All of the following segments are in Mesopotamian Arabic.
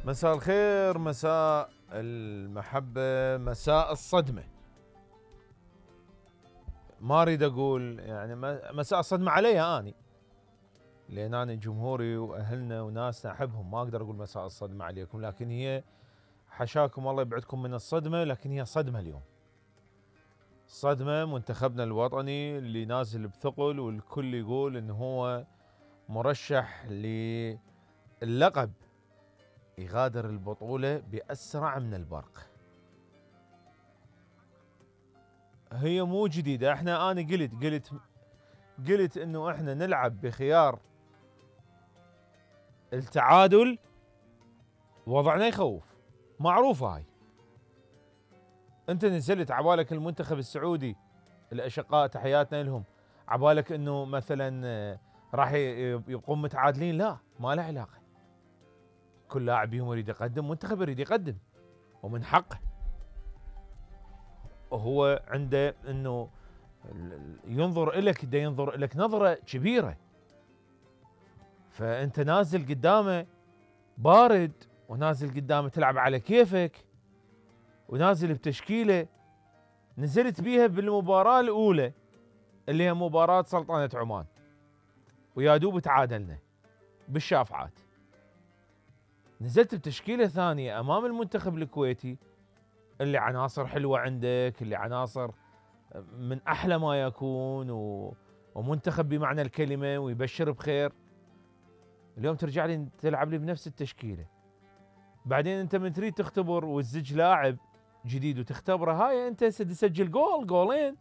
مساء الخير، مساء المحبة، مساء الصدمة. ما اريد اقول يعني مساء الصدمة علي اني، لان انا جمهوري واهلنا وناسنا احبهم، ما اقدر اقول مساء الصدمة عليكم، لكن هي حشاكم الله يبعدكم من الصدمة، لكن هي صدمة اليوم. صدمة منتخبنا الوطني اللي نازل بثقل، والكل يقول انه هو مرشح للقب، يغادر البطولة بأسرع من البرق. هي مو جديدة، انا قلت انه احنا نلعب بخيار التعادل، وضعنا يخوف، معروفة هاي. انت نزلت عبالك المنتخب السعودي، الاشقاء تحياتنا لهم، عبالك انه مثلا راح يبقون متعادلين؟ لا، ما له علاقة. كل لاعب فيهم يريد يقدم، منتخب يريد يقدم، ومن حقه. وهو عنده انه ينظر إلك، دا ينظر إلك نظرة كبيرة. فأنت نازل قدامه بارد، ونازل قدامه تلعب على كيفك، ونازل بتشكيلة نزلت بيها بالمباراة الأولى اللي هي مباراة سلطنة عمان، ويا دوب تعادلنا بالشافعات. نزلت بتشكيلة ثانية أمام المنتخب الكويتي اللي عناصر حلوة عندك، اللي عناصر من أحلى ما يكون، ومنتخب بمعنى الكلمة ويبشر بخير. اليوم ترجع لي تلعب لي بنفس التشكيلة. بعدين انت من تريد تختبر وتزج لاعب جديد وتختبره، هاي انت تسجل جول جولين،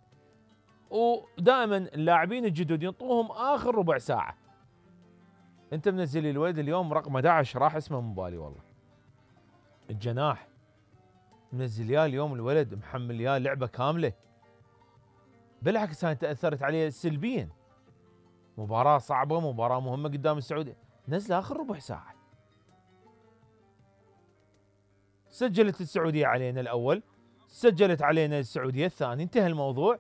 ودائما اللاعبين الجدد ينطوهم اخر ربع ساعة. انت منزل لي الولد اليوم رقم 11، راح اسمه من بالي والله، الجناح، منزل يا اليوم الولد محمل يا لعبة كاملة. بالعكس انا تأثرت عليه سلبيا. مباراة صعبة، مباراة مهمة قدام السعودية، نزل اخر ربع ساعة. سجلت السعودية علينا الأول، سجلت علينا السعودية الثاني، انتهى الموضوع.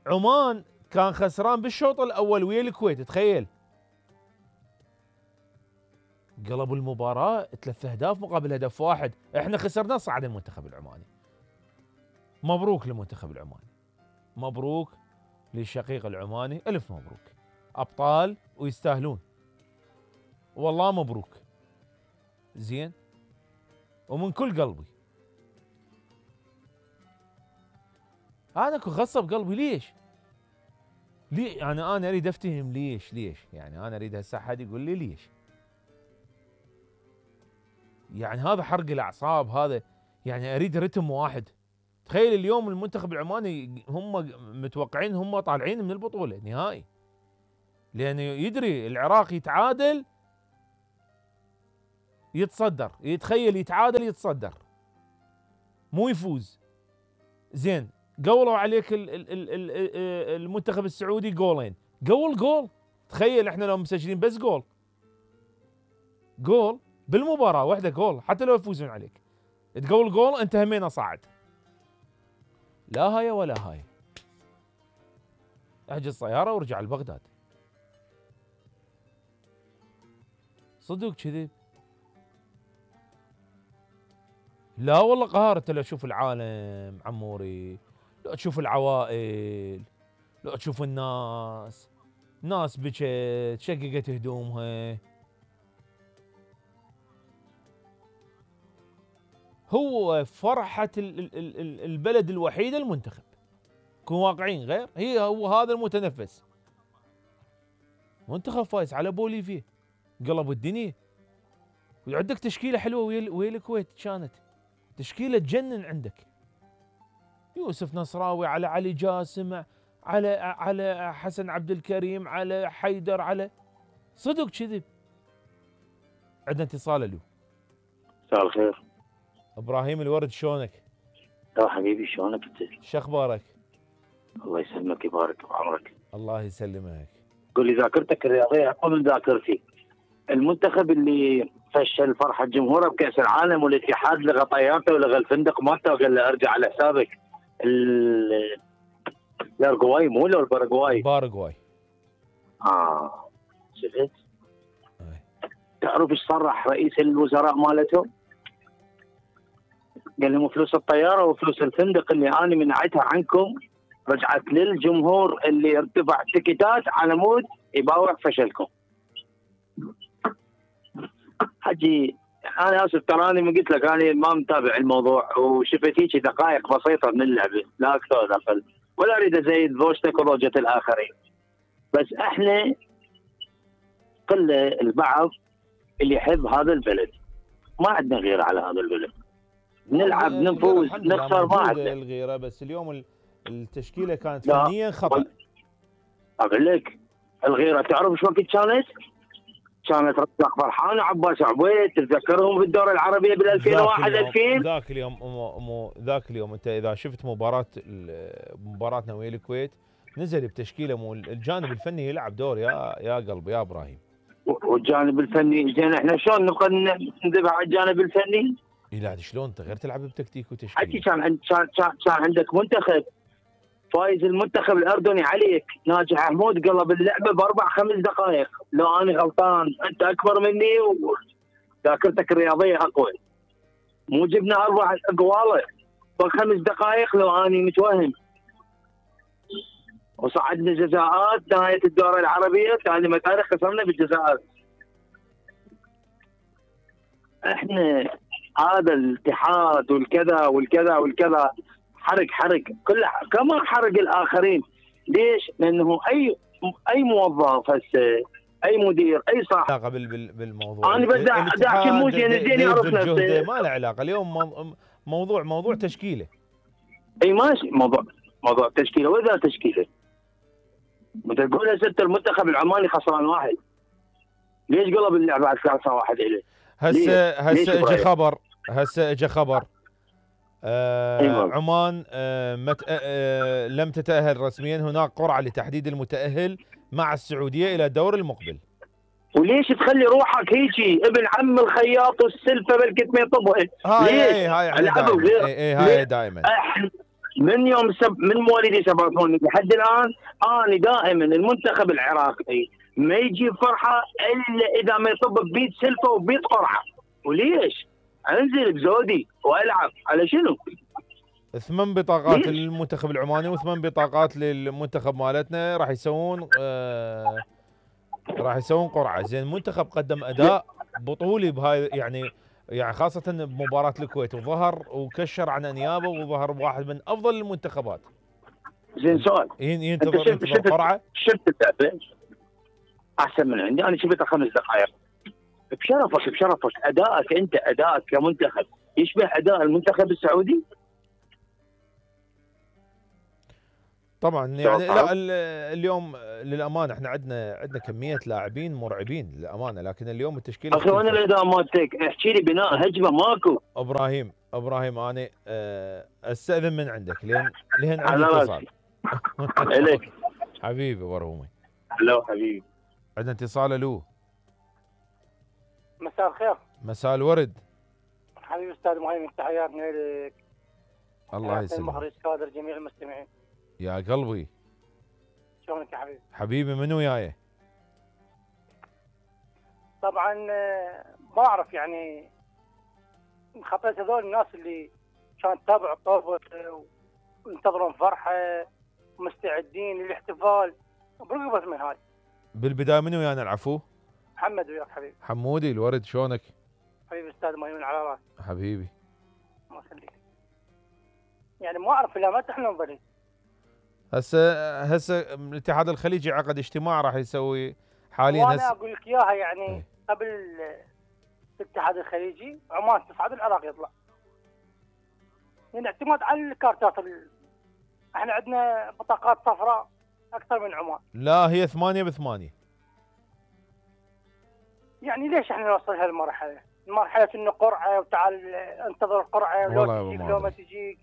عمان كان خسران بالشوط الأول ويا الكويت، تخيل. قلبوا المباراة 3 أهداف مقابل هدف واحد، احنا خسرنا، صعد المنتخب العماني. مبروك للمنتخب العماني، مبروك للشقيق العماني، ألف مبروك، أبطال ويستاهلون، والله مبروك، زين، ومن كل قلبي. انا غصب قلبي. ليش؟ يعني انا اريد افتهم ليش يعني انا اريد هسه حد يقول لي ليش. يعني هذا حرق الاعصاب، هذا يعني اريد رتم واحد. تخيل اليوم المنتخب العماني هم متوقعين هم طالعين من البطولة نهائي، لانه يدري العراق يتعادل يتصدر، يتخيل يتعادل يتصدر مو يفوز. زين، قولوا عليك المنتخب السعودي جولين، جول. تخيل احنا لو مسجلين بس جول بالمباراة واحدة، جول حتى لو يفوزون عليك، تقول جول انت همينة صاعد. لا هاي ولا هاي، احجز طيارة وارجع لبغداد. صدق كذب؟ لا والله قهار. انت لو تشوف العالم عموري، لو تشوف العوائل، لو تشوف ناس بكت شققت هدومها. هو فرحة البلد الوحيدة المنتخب، كون واقعين، غير هو هذا المتنفس. منتخب فايز على بوليفيا، قلب الدنيا. وعندك تشكيلة حلوة ويا الكويت، كانت تشكيلة تجنن عندك. يوسف نصراوي، على علي جاسم، على حسن عبد الكريم، على حيدر، على صدق كذب. عندنا اتصال. له مساء الخير ابراهيم الورد، شلونك؟ يا حبيبي، شلونك انت؟ شو اخبارك؟ الله يسلمك ويبارك بعمرك. الله يسلمك. قول لي ذاكرتك الرياضيه اقوى من ذاكرتي. المنتخب اللي فشل فرحه جمهوره بكاس العالم، والاتحاد لغى طيارته ولغى الفندق مالته وقال له ارجع على حسابك. الارجواي مو ولا الباراغواي؟ باراغواي. شفت؟ تعرف ايش صرح رئيس الوزراء مالتهم؟ قال لهم فلوس الطياره وفلوس الفندق اللي انا منعتها عنكم رجعت للجمهور اللي ارتفع تيكيتات على مود يباوع فشلكم. حجي انا اسف تراني ما قلت لك انا ما متابع الموضوع وشفت هيك دقائق بسيطه من اللعبه لا اكثر ولا اقل ولا اريد ازيد زوجتك وزوجة الاخرين. بس احنا قله البعض اللي يحب هذا البلد ما عندنا غير على هذا البلد. نلعب نفوز نخسر ما عندنا الغيره. بس اليوم التشكيله كانت فنيا خطا. اقول لك الغيره تعرف شو وقت كانت؟ كانت رزاق فرحان وعباس عبيد تتذكرهم في الدورة العربية بال 2001 2000 ذاك اليوم انت اذا شفت مباراتنا ويا الكويت نزل بتشكيله مو الجانب الفني يلعب دور يا قلبي يا ابراهيم. والجانب الفني زين احنا شلون نبقى ندافع على الجانب الفني؟ لا شلون انت غير تلعب بتكتيك وتشكيل. حكي كان عندك منتخب فايز المنتخب الاردني عليك ناجح حمود قلب اللعبه باربع خمس دقائق. لو انا غلطان انت اكبر مني وذاكرتك الرياضيه اقوى مو جبنا اربع اقواله بخمس دقائق لو اني متوهم وصعدنا جزاءات نهايه الدوره العربيه ثاني مكان خسرنا بالجزاءات. احنا هذا الاتحاد والكذا حرق كله كما حرق الاخرين. ليش؟ لانه اي موظف هسه اي مدير اي صاحب علاقه بالموضوع. انا بدي احكي مو زين يعرف نفسه ما له علاقه. اليوم موضوع تشكيله. اي ماشي موضوع تشكيله واذا تشكيله بتقول هسه المنتخب العماني خسران واحد ليش قلب اللعبه على 3-1 اليه؟ هسه اجى خبر عمان لم تتأهل رسميا. هناك قرعة لتحديد المتأهل مع السعودية إلى الدور المقبل. وليش تخلي روحك هيجي ابن عم الخياط والسلفة بالكت ما يطبها؟ ليش؟ هاي دائما من يوم من مواليدي 87 لحد الآن أنا دائما المنتخب العراقي ما يجي فرحة إلا إذا ما يطب ببيت سلفة وبيت قرعة. وليش؟ انزل بزودي والعب على شنو؟ 8 بطاقات للمنتخب العماني و8 بطاقات للمنتخب مالتنا راح يسوون قرعه. زين المنتخب قدم اداء بطولي بهاي يعني خاصه بمباراه الكويت وظهر وكشر عن انيابه وظهر واحد من افضل المنتخبات. زين سؤال ينتظر قرعه. شفت اللعبه احسن من عندي انا شفتها 5 دقائق بشرفك ادائك كمنتخب يشبه اداء المنتخب السعودي؟ طبعا يعني لا اليوم للامانه احنا عندنا كميه لاعبين مرعبين للامانه. لكن اليوم التشكيله اخي وانا الاداء مالتك احكي لي بناء هجمه ماكو. ابراهيم انا استاذن من عندك لين عندي اتصال. اليك حبيبي برهومي. هلا حبيبي عندنا اتصال. الو مساء الخير. مساء الورد حبيبي استاذ مهيمن تحياتنا لك. الله يسلمك. المخرج كادر جميع المستمعين. يا قلبي شلونك يا حبيبي؟ حبيبي من وياي؟ طبعا ما اعرف يعني خطيت هذول الناس اللي كانت تتابع الطوبه وينتظرون فرحه ومستعدين للاحتفال برقبة من هاي. بالبدايه من ويانا العفو؟ محمد وياك حبيبي. حمودي الورد شلونك؟ حبيبي استاذ مهيمن على راسي. حبيبي الله يخليك. يعني ما اعرف الا متى احنا نظل. هسه الاتحاد الخليجي عقد اجتماع راح يسوي حاليا. وانا اقول لك اياها يعني قبل الاتحاد الخليجي عمان تصعد العراق يطلع. يعني اعتماد على الكارتات احنا عندنا بطاقات صفراء اكثر من عمان. لا هي 8-8. يعني ليش احنا نوصل هالمرحله؟ مرحله انه قرعه وتعال انتظر القرعه ولو تجيك لو ما تجيك.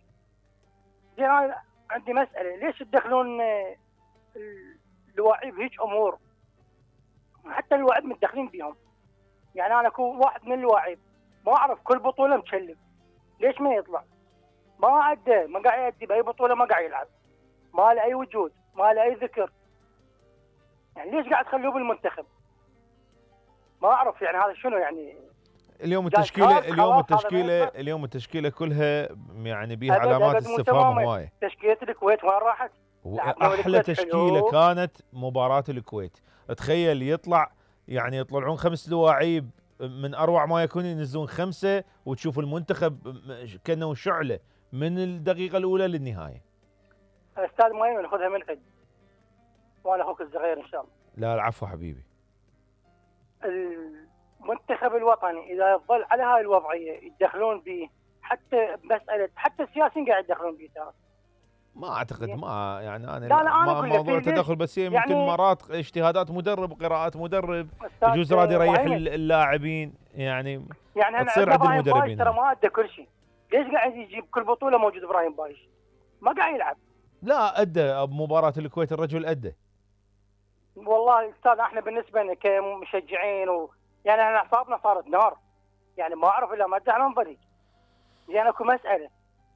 زين انا عندي مساله، ليش تدخلون اللاعب هيك امور؟ حتى اللاعب متدخلين بيهم. يعني انا اكون واحد من اللاعب ما اعرف كل بطوله مكلف، ليش ما يطلع؟ ما عنده، ما قاعد يأدي باي بطوله، ما قاعد يلعب، ما له اي وجود، ما له اي ذكر. يعني ليش قاعد تخلوه بالمنتخب؟ ما اعرف يعني هذا شنو يعني. اليوم جاي التشكيله كارت خلاص، هذا ما يصير. اليوم التشكيله كلها يعني بيها ابد علامات ابد مو استفهام تماما. هوايه. تشكيله الكويت وين راحت؟ لعبنا واحلى والكويت تشكيله حلو. كانت مباراه الكويت. تخيل يعني يطلعون 5 لواعيب من اروع ما يكون، ينزلون 5 وتشوف المنتخب كانه شعله من الدقيقه الاولى للنهايه. استاذ مهم ناخذها من عند، وانا اخوك الصغير ان شاء الله. لا العفو حبيبي. المنتخب الوطني اذا يظل على هاي الوضعيه يتدخلون به، حتى مساله حتى السياسيين قاعد يتدخلون به ترى. ما اعتقد، ما يعني انا لا أنا ما أقول لك موضوع ليش؟ تدخل، بس هي يعني يمكن مرات اجتهادات مدرب، قراءات مدرب، أستاذ يجوز راد يريح إبراهيم. اللاعبين يعني يعني تصير عندنا عند ابراهيم بايش المدربين ترى هاي. ما ادى كل شيء. ليش قاعد يجيب كل بطوله موجود ابراهيم بايش؟ ما قاعد يلعب. لا ادى بمباراه الكويت، الرجل ادى. والله استاذ احنا بالنسبه لنا كمشجعين يعني احنا اعصابنا صارت نار. يعني ما اعرف الا ما ادى على نظري. يعني اكو مساله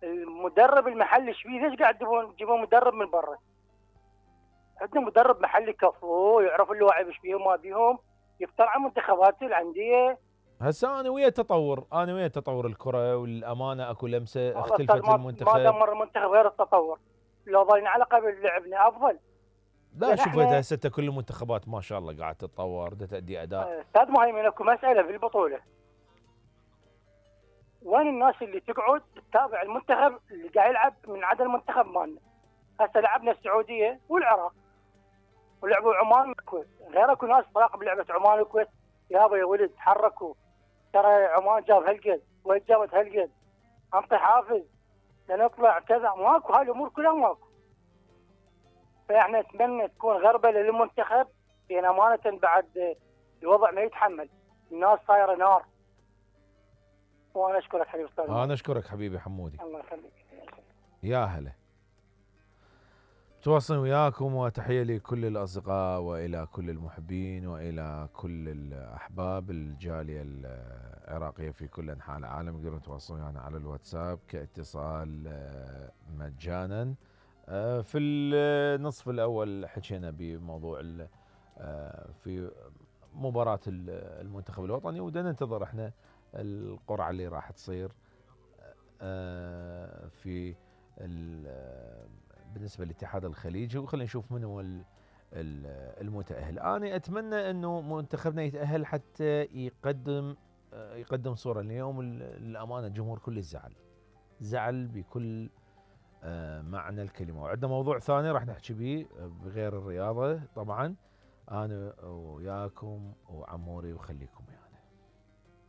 المدرب المحلي ايش فيه؟ ليش قاعد تجيبون مدرب من برا؟ عندنا مدرب محلي كفو يعرف اللاعب ايش فيهم ما بيهم، يفتر على منتخبات الانديه. هسه انا ويا تطور الكره والامانه، اكو لمسه اختلفت ما المنتخب. دمر المنتخب غير التطور. لو ظلنا على قبل لعبنا افضل. لا شوف هسه كل المنتخبات ما شاء الله قاعد تتطور، تأدي اداء. استاذ مهيمن اكو مساله في البطوله، وين الناس اللي تقعد تتابع المنتخب اللي قاعد يلعب من عدا المنتخب مالنا؟ هسه لعبنا السعوديه والعراق ولعبوا عمان والكويت، غير اكو ناس تراقب لعبه عمان والكويت. يابا يا ولد تحركوا، ترى عمان جاب هالقد وين جابت هالقد، انطي حافز لنطلع كذا. ماكو هاي الامور كلها ماكو. فاحنا نتمنى تكون غربله للمنتخب، لان امانه بعد الوضع ما يتحمل، الناس صايره نار. وانا اشكرك حبيبي استاذ. انا اشكرك حبيبي حمودي. الله يخليك. يا هلا. تواصل وياكم، وتحية لكل الأصدقاء وإلى كل المحبين وإلى كل الأحباب الجالية العراقية في كل أنحاء العالم. يقدرون يتواصلون ويانا على الواتساب كاتصال مجانا. في النصف الأول حكينا بموضوع في مباراة المنتخب الوطني، ودنا ننتظر احنا القرعة اللي راح تصير في بالنسبة للاتحاد الخليجي، وخلينا نشوف من هو المتأهل. أنا أتمنى أنه منتخبنا يتأهل حتى يقدم صورة. اليوم الأمانة الجمهور كله زعل بكل معنى الكلمة. وعندنا موضوع ثاني راح نحكي به بغير الرياضة طبعا، أنا وياكم وعموري وخليكم